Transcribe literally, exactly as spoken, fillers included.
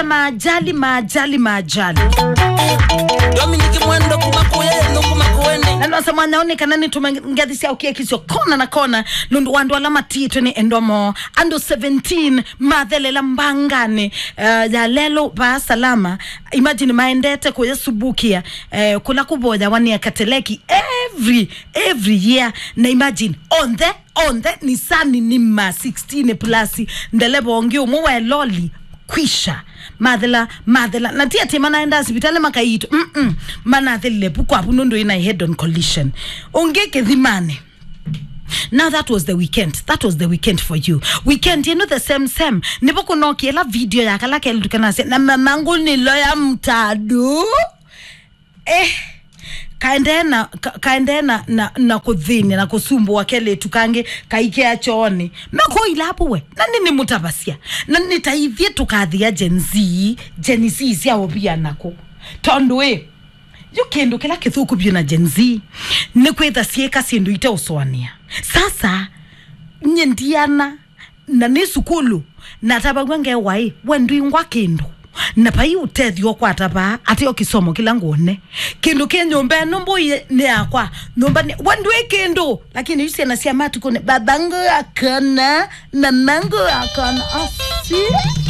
Maajali, maajali, maajali. Dominic Mwendo kuma kuya, no kuma kuene. Na nose mwana one kana nitume ngathi sya ukiekisyo kona na kona. Nundu wa andu ala matitwe ni endomo. Andu seventeen mathelela mbangani, eh, ya lelo ba salama. Imagine maendete kuya subukia, eh, kula kuvoya wania kateleki every, every year. Na imagine on the onthe Nissan ni ma sixteen plus, ndeleva ũngĩ ũmwe wa loli kwisha. Mathela, mathela. Na ti atĩ manaenda sivitali makaitwa. Mm-mm. Manathelile pu kwavu nũndũ ina head on collision. Ũngĩ kĩthimani. Now that was the weekend. That was the weekend for you. Weekend ĩno the same same. Nĩvo kũnokie ĩla video ya kala kelĩtu kanasya, "Na mamangu nilo ya mtadu." Eh, kaendee na, ka-, kaendee na, na, na kũthĩnĩa na kũsumbũa kelĩtu kangĩ kaikea chooni. Meko ilavu we, na nĩ nĩmũtavasya. Na nĩ ta ithyĩ tũkathĩa Gen Z, Gen Z sya ũvia nakũ. Tondũ ĩ, yu kĩndũ kĩla kĩthũku vyũ na Gen Z, nĩ kwĩtha syĩka syĩndũ iteũsũanĩa. Sasa, nyie ndiana, na nĩ sukulu, natavaw'a ngewa ĩ, we ndwingwa kĩndũ. Na vai ũtethyo ũkwata vaa, ateo kĩsomo kĩla ngwone. Kĩndũ kĩ nyũmba ĩno mbũi nĩ yakwa. Nyũmba nĩ, we ndwĩ kĩndũ. Lakini yu syana sya matukũnĩ, babangu akana, mamangu akana. Asi.